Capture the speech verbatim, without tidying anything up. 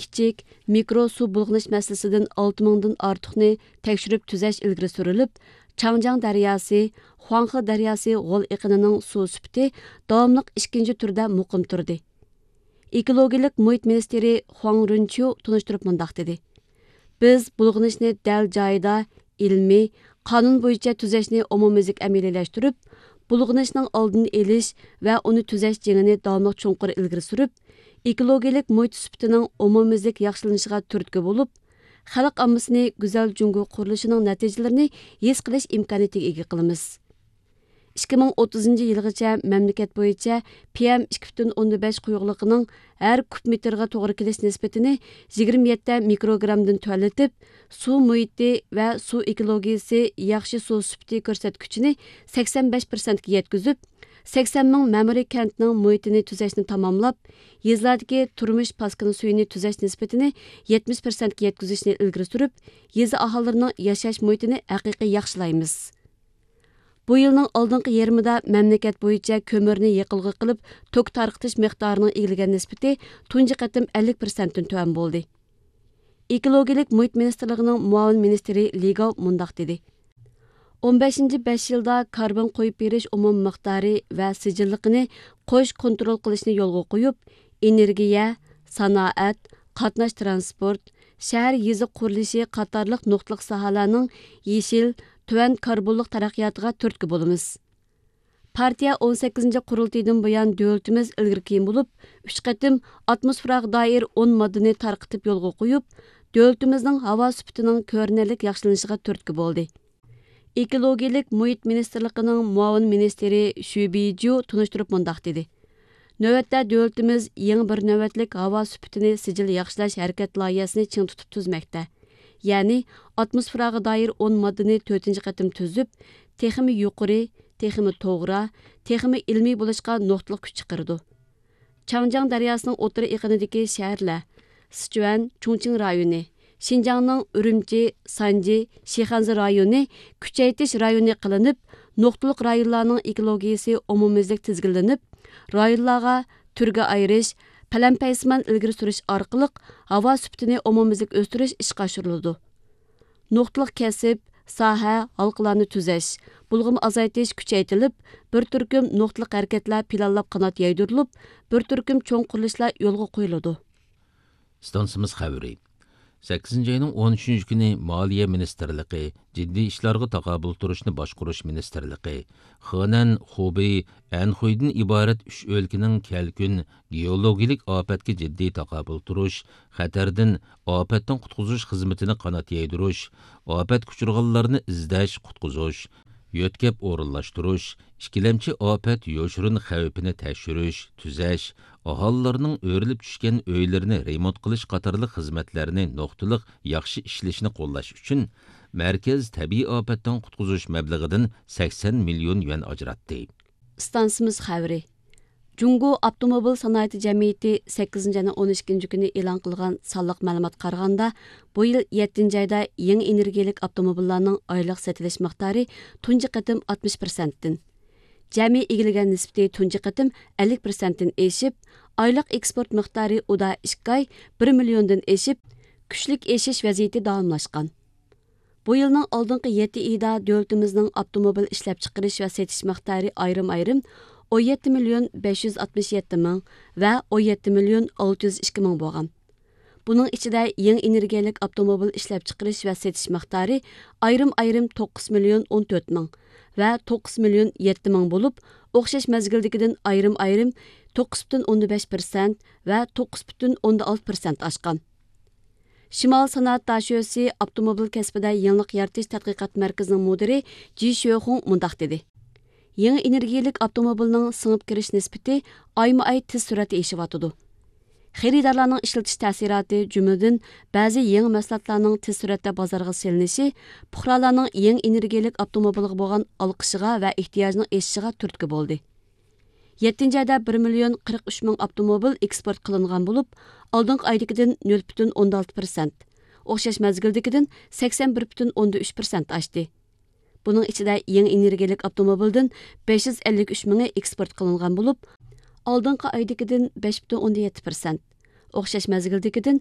كىچىك، مىكرو سۇ بۇلغىنىش مەسىلىسىدىن ئالتە مىڭدىن ئارتۇقنى تەكشۈرۈپ تۈزەش ئىلگىرى سۈرۈلۈپ، چاڭجياڭ دەرياسى، خۇاڭخې دەرياسى غول ئېقىنىنىڭ سۇ سۈپىتى داۋاملىق ئىككىنچى تۈردە مۇقىم تۇردى. ئېكولوگىيەلىك مۇھىت مىنىستىرى خۇاڭ رۇنچيۇ تونۇشتۇرۇپ مۇنداق دېدى: بىز بۇلغىنىشنى دەل جايىدا، ئىلمىي، قانۇن بويىچە تۈزەشنى ئومۇميۈزلۈك ئەمەلىيلەشتۈرۈپ، بۇلغىنىشنىڭ ئالدىنى ئېلىش ۋە ئۇنى تۈزەش جېڭىنى داۋاملىق چوڭقۇر ئىلگىرى سۈرۈپ، ئېكولوگىيەلىك مۇھىت سۈپىتىنىڭ ئومۇميۈزلۈك ياخشىلىنىشىغا تۈرتكە بولۇپ، خەلق ئاممىسىنى گۈزەل جۇڭگو قۇرۇلۇشىنىڭ نەتىجىلىرىنى ھېس قىلىش ئىمكانىيىتىگە ئىگە قىلىمىز. ئىككى مىڭ ئوتتۇزىنچى يىلغىچە مەملىكەت بويىچە پىئېم ئىككى پۈتۈن ئوندىن بەش قويۇقلۇقىنىڭ ھەر كۇب مېتىرغا توغرا كېلىش نىسبىتىنى يىگىرمە يەتتە مىكروگرامدىن تۆۋەنلىتىپ، سۇ مۇھىتى ۋە سۇ ئېكولوگىيىسى ياخشى سۇ سۈپىتى كۆرسەتكۈچىنى سەكسەن بەش پىرسەنتكە يەتكۈزۈپ، سەكسەن مىڭ مەمۇرىي كەنتنىڭ مۇھىتىنى تۈزەشنى تاماملاپ، يېزىلاردىكى تۇرمۇش پاسكىنا سۈيىنى تۈزەش نىسبىتىنى يەتمىش پىرسەنتكە يەتكۈزۈشنى ئىلگىرى سۈرۈپ، يېزا ئاھالىلىرىنىڭ ياشاش مۇھىتىنى ھەقىقىي ياخشىلايمىز. بۇ يىلنىڭ ئالدىنقى يېرىمىدا مەملىكەت بويىچە كۆمۈرنى يېقىلغۇ قىلىپ توك تارقىتىش مىقدارىنىڭ ئىگىلىگەن نىسبىتى تۇنجى قېتىم ئەللىك پىرسەنتتىن تۆۋەن بولدى. ئېكولوگىيەلىك مۇھىت مىنىستىرلىقىنىڭ مۇئاۋىن مىنىستىرى لى گاۋ مۇنداق دېدى: ئون بەشىنچى بەش يىلدا كاربون قويۇپ بېرىش ئومۇمىي مىقدارى ۋە سىجىللىقىنى قوش كونترول قىلىشنى يولغا قويۇپ، ئېنېرگىيە، سانائەت، قاتناش ترانسپورت، شەھەر يېزا قۇرۇلۇشى قاتارلىق نۇقتىلىق ساھەلەرنىڭ يېشىل، تۆۋەن كاربونلۇق تەرەققىياتىغا تۈرتكە بولىمىز. پارتىيە ئون سەككىزىنچى قۇرۇلتىيىدىن بۇيان دۆلىتىمىز ئىلگىرى كېيىن بولۇپ، ئۈچ قېتىم ئاتموسفېراغا دائىر ئون ماددىنى تارقىتىپ يولغا قويۇپ، دۆلىتىمىزنىڭ ھاۋا سۈپىتىنىڭ كۆرۈنەرلىك ياخشىلىنىشىغا تۈرتكە بولدى. ئېكولوگىيەلىك مۇھىت مىنىستىرلىقىنىڭ مۇئاۋىن مىنىستىرى شۈ بىجيۇ تونۇشتۇرۇپ مۇنداق دېدى: نۆۋەتتە دۆلىتىمىز يېڭى بىر نۆۋەتلىك ھاۋا سۈپىتىنى سىجىل ياخشىلاش ھەرىكەت لايىھەسىنى چىڭ تۇتۇپ تۈزمەكتە. يەنى ئاتموسفېراغا دائىر ئون ماددىنى تۆتىنچى قېتىم تۈزۈپ، تېخىمۇ يۇقىرى، تېخىمۇ توغرا، تېخىمۇ ئىلمىي بولۇشقا نۇقتىلىق كۈچ چىقىرىدۇ. چاڭجياڭ دەرياسىنىڭ ئوتتۇرا ئېقىنىدىكى شەھەرلەر، سىچۈەن، چۇڭچىڭ رايونى، شىنجاڭنىڭ ئۈرۈمچى، سانجى، شىخەنزە رايونى كۈچەيتىش رايونى قىلىنىپ، نۇقتىلىق رايونلارنىڭ ئېكولوگىيىسى ئومۇميۈزلۈك تىزگىنلىنىپ، رايونلارغا تۈرگە ئايرىش، پەلەمپەيسىمان ئىلگىرى سۈرۈش ئارقىلىق ھاۋا سۈپىتىنى ئومۇميۈزلۈك ئۆستۈرۈش ئىشقا ئاشۇرۇلىدۇ. نۇقتىلىق كەسىپ، ساھە، ھالقىلارنى تۈزەش، بۇلغىما ئازايتىش كۈچەيتىلىپ، بىر تۈركۈم نۇقتىلىق ھەرىكەتلەر پىلانلاپ قانات يايدۇرۇلۇپ، بىر تۈركۈم چوڭ قۇرۇلۇشلار يولغا قويۇلىدۇ. ئىستانسىمىز خەۋىرى. سەككىزىنچى ئاينىڭ ئون ئۈچىنچى كۈنى مالىيە مىنىستىرلىقى، جىددىي ئىشلارغا تاقابىل تۇرۇشنى باشقۇرۇش مىنىستىرلىقى، خېنەن، خۇبېي، ئەنخۇيدىن ئىبارەت ئۈچ ئۆلكىنىڭ كەلكۈن، گېئولوگىيىلىك ئاپەتكە جىددىي تاقابىل تۇرۇش، خەتەردىن ئاپەتتىن قۇتقۇزۇش خىزمىتىنى قانات يايدۇرۇش، ئاپەتكە ئۇچرىغانلارنى ئىزدەش، قۇتقۇزۇش، يۆتكەپ ئورۇنلاشتۇرۇش، ئىككىلەمچى ئاپەت يوشۇرۇن خەۋپىنى تەكشۈرۈش، تۈزەش، ئاھالىلەرنىڭ ئۆرۈلۈپ چۈشكەن ئۆيلىرىنى رېمونت قىلىش قاتارلىق خىزمەتلەرنى نۇقتىلىق ياخشى ئىشلىشىنى قوللاش ئۈچۈن، مەركەز تەبىئىي ئاپەتتىن قۇتقۇزۇش مەبلىغىدىن سەكسەن مىليون يۈەن ئاجراتتى. ئىستانسىمىز خەۋىرى. جۇڭگو ئاپتوموبىل سانائىتى جەمئىيىتى سەككىزىنچى ئاينىڭ ئون ئىككىنچى كۈنى ئېلان قىلغان سانلىق مەلۇماتقا قارىغاندا، بۇ يىل يەتتىنچى ئايدا يېڭى ئېنېرگىيەلىك ئاپتوموبىللارنىڭ ئايلىق سېتىلىش مىقدارى تۇنجى قېتىم ئاتمىش پىرسەنتتىن، جەمئىي ئىگىلىگەن نىسبىتى تۇنجى قېتىم ئەللىك پىرسەنتتىن ئېشىپ، ئايلىق ئېكسپورت مىقدارى ئۇدا ئىككى ئاي بىر مىليوندىن ئېشىپ، كۈچلۈك ئېشىش ۋەزىيىتى داۋاملاشقان. بۇ يىلنىڭ ئالدىنقى يەتتە ئېيىدا دۆلىتىمىزنىڭ ئاپتوموبىل ئىشلەپچىقىرىش ۋە سېتىش مىقدارى ئايرىم-ئايرىم ئون يەتتە مىليون بەش يۈز ئاتمىش يەتتە مىڭ ۋە ئون يەتتە مىليون ئالتە يۈز ئىككى مىڭ بولغان. بۇنىڭ ئىچىدە يېڭى ئېنېرگىيەلىك ئاپتوموبىل ئىشلەپچىقىرىش ۋە سېتىش مىقدارى ئايرىم-ئايرىم توققۇز مىليون ئون تۆت مىڭ ۋە توققۇز مىليون يەتتە مىڭ بولۇپ، ئوخشاش مەزگىلدىكىدىن ئايرىم-ئايرىم توققۇز پۈتۈن ئوندىن بەش پىرسەنت ۋە توققۇز پۈتۈن ئوندىن ئالتە پىرسەنت ئاشقان. شىمال سانائەت داشۆسى ئاپتوموبىل كەسپىدە يېڭىلىق يارىتىش تەتقىقات مەركىزىنىڭ مۇدىرى جى شۆخۇڭ مۇنداق دېدى: يېڭى ئېنېرگىيەلىك ئاپتوموبىلنىڭ سىڭىپ كىرىش نىسبىتى ئايمۇ ئاي تېز سۈرئەتتە ئېشىۋاتىدۇ. خېرىدارلارنىڭ ئىشلىتىش تەسىراتى، جۈملىدىن بەزى يېڭى مەھسۇلاتلارنىڭ تېز سۈرئەتتە بازارغا سېلىنىشى پۇقرالارنىڭ يېڭى ئېنېرگىيەلىك ئاپتوموبىلغا بولغان ئالقىشىغا ۋە ئېھتىياجىنىڭ ئېشىشىغا تۈرتكە بولدى. يەتتىنچى ئايدا بىر مىليون قىرىق ئۈچ مىڭ ئاپتوموبىل ئېكسپورت قىلىنغان بولۇپ، ئالدىنقى ئايدىكىدىن نۆل پۈتۈن ئوندىن ئالتە پىرسەنت، ئوخشاش مەزگىلدىكىدىن سەكسەن بىر پۈتۈن ئوندىن ئۈچ پىرسەنت ئاشتى. بۇنىڭ ئىچىدە يېڭى ئېنېرگىيەلىك ئاپتوموبىلدىن بەش يۈز ئەللىك ئۈچ مىڭى ئېكسپورت قىلىنغان بولۇپ، ئالدىنقى ئايدىكىدىن بەش پۈتۈن ئوندىن يەتتە پىرسەنت، ئوخشاش مەزگىلدىكىدىن